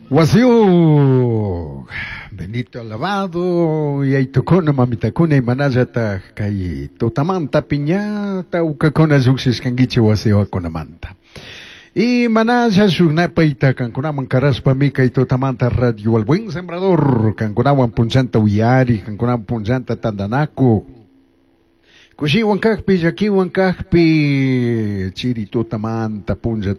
Wasiuq, bendito alabado, yaitukuna, mamitakuna, imanallataj kay tutamanta piñata ukakuna lluqshishkankichik wasiwakunamanta. Y manalla shuknapayta kankunaman karashpami kay tutamanta Radio El Buen Sembrador kankunawan punchanta uyari, kankunawan punchanta tantanaku. Kushiwan kajpi, llakiwan kajpi, chiri tutamanta puncha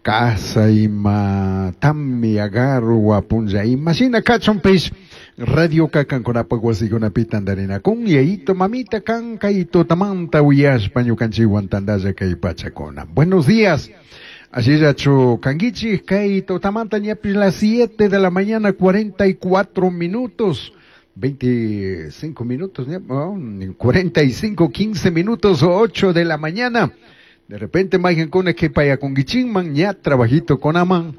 casa ima tamia garua punlla ima shina kachunpish radioka kankunapak wasikunapi tantarinakun yayito mamita kan kay tutamanta uyashpa ñukanchikwan tantalla kay pachakuna. Buenos días. Ashillachu kankichik kay tutamanta ñapish las 7 de la mañana 44 minutos. 25 minutos, oh, 45, 15 minutos, 8 de la mañana. De repente, mayqankuna qhipayakungichinman ña trabajito kunaman.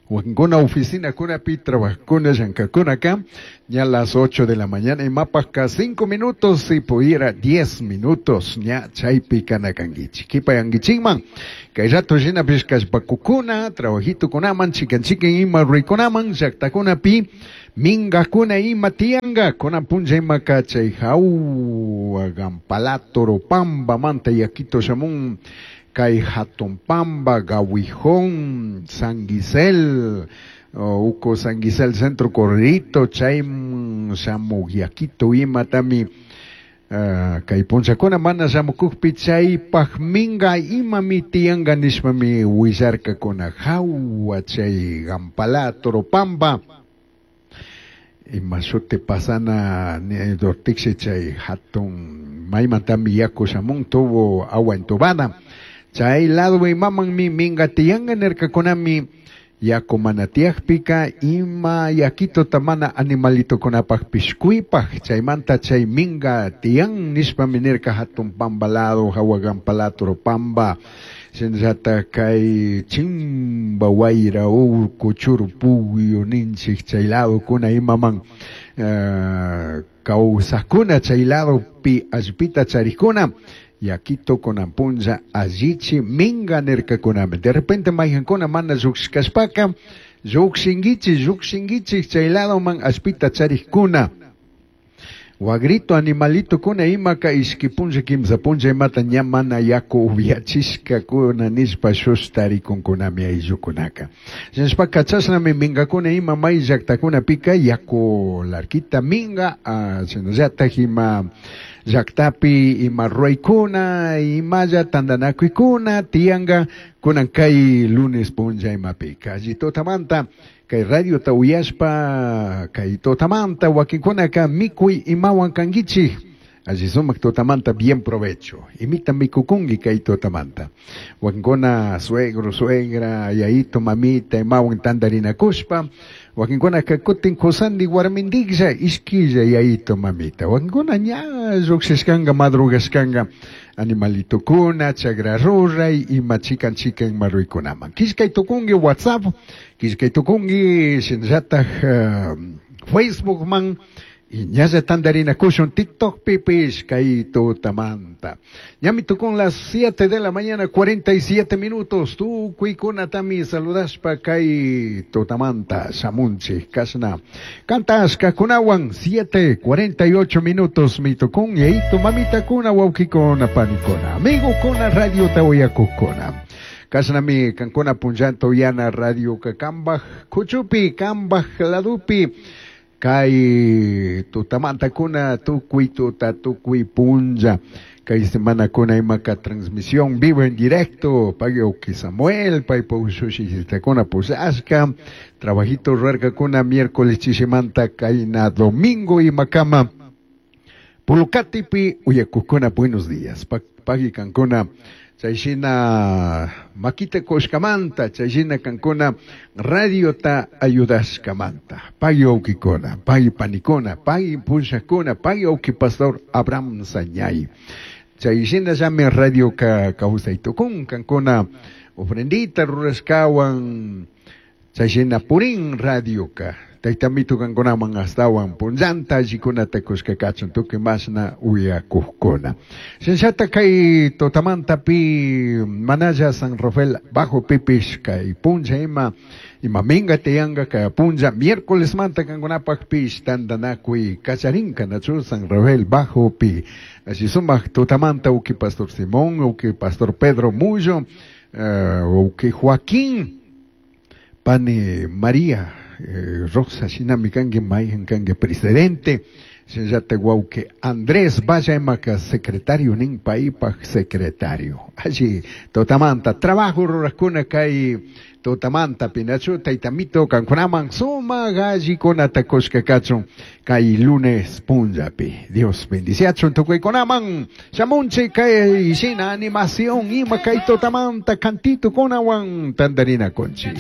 Wakinkuna oficina kunapi trabajkuna llankakuna acá, ña las 8 de la mañana imapajka 5 minutos si pudiera 10 minutos ña chaypi kanakankichik. Qhipayankichinman kay rato shinapish kallpakukuna trabajito kunaman chikan chikan ima ruraykunaman llaqtakunapi minkakuna ima tiyanka kunan punlla imaka chay hawa Gampalá Toropambamanta yakito shamun kay Hatun Pamba, Gawijón, San Gisel, uku San Gisel Centro Correrito, chay shamuk yakito imatami kay punllakuna mana shamukukpi chaypaj minga imami tiyanka nishpami willarkakuna hawa chay Gampalá Toropamba ima shuti pasana dortiksi chay hatun maymantami yaku shamun tubo agua entubada chay lado imamanmi minga tiyanka nirkakunami yaku mana tiyakpika ima yakituta mana animalitokunapakpish kuypaj chaymanta chay minga tiyan nishpami nirka hatun pamba lado hawa Gampalá Toropamba shinallatak kay chimba wayra urku churpugyu ninchik chay ladokuna imaman kawsakuna chay ladopi allpita charikuna yakito kunan punlla allichi minga nirkakunami. De repente mayqankuna mana lluqshikashpaka lluqshinkichik lluqshinkichik chay ladoman allpita charikuna. Wagrito animalitokuna imaka ishki punlla kimsa punlla imata ña mana yaku upiachishkakuna nishpa shushtarikunkunami ayllukunaka. Shinashpaka chashnami minkakuna ima may llaktakunapika yaku larquita minga shinallatak ima llaktapi ima ruraykuna imalla tantanakuykuna tiyanka kunan kay lunes punlla imapika. Alli tutamanta kay radiota uyashpa kay tutamanta wakinkunaka mikuy imawan kankichik. Alli sumak tutamanta bien provecho. Imita mikukunki kay tutamanta. Wakinkuna suegro, suegra, yayito, mamita, imawan tantarinakushpa. Wakinkunaka kutin kusandi warmindiklla ishkilla yayito, mamita. Wakinkuna ña lluqshishkanka madrugashkanka animalitokuna, chagra ruray, ima chikan chikan maruykunaman. Killkay tukunki WhatsApp, killkay tukunki shinallatak Facebookman, y ñalla tantarinakushun TikTok pipish kay tutamanta. Ñami tukun las 7 de la mañana 47 minutos. Tukuykunatami saludashpa kay tutamanta shamunchik kashna. Kantashka kunawan 7:48 minutos mi tukun yayito mamitakuna wawkikuna panikuna. Amigokuna radio tawayakukuna. Kashnami kankuna punllanta uyana radio kambaj kuchupi kambaj ladupi. Kay tutamantakuna tukuy tuta tukuy punlla kay semana kuna imaka transmisión vivo en directo pagyo Samuel paypa ushushitakuna pushashka trabajito rurarkakuna miércoles chishimanta kayna domingo imakama Pulukatipi uyakukuna buenos días pagi kankuna chayshina makita kushkamanta chayshina kankuna radiota ayudashkamanta pagi wawkikuna pagi panikuna pagi punllakuna pagi wawki pastor Abraham Sañay chayshinallami radioka kawsaytukun kankuna ofrendita rurashkawan chayshina purin radioka. Taytamito kankunaman astawan punllanta allikunata kushka kachun tukuy mashna uyakukuna. Shinallata kay tutamantapi manalla San Rafael Bajo pipish kay punlla ima ima minga tiyanga kay punlla miércoles manta kankunapakpish tantanakuy kacharinka nachu San Rafael Bajo pi. Así sumak tutamanta uki Pastor Simón, uki Pastor Pedro Mullo, uki Joaquín, pani María Rosa shinami kanki mayhan kanki presidente, shinallata wawki Andrés Valla imaka secretario nin paypaj secretario. Allí tutamanta trabajo rurakuna kay tutamanta pinachu taytamito kankunaman sumak allikunata kushka kachun kay lunes punllapi. Dios bendiciachun tukuykunaman shamunchik kay shina animación ima kay tutamanta cantito kunawan tantarina kunchik.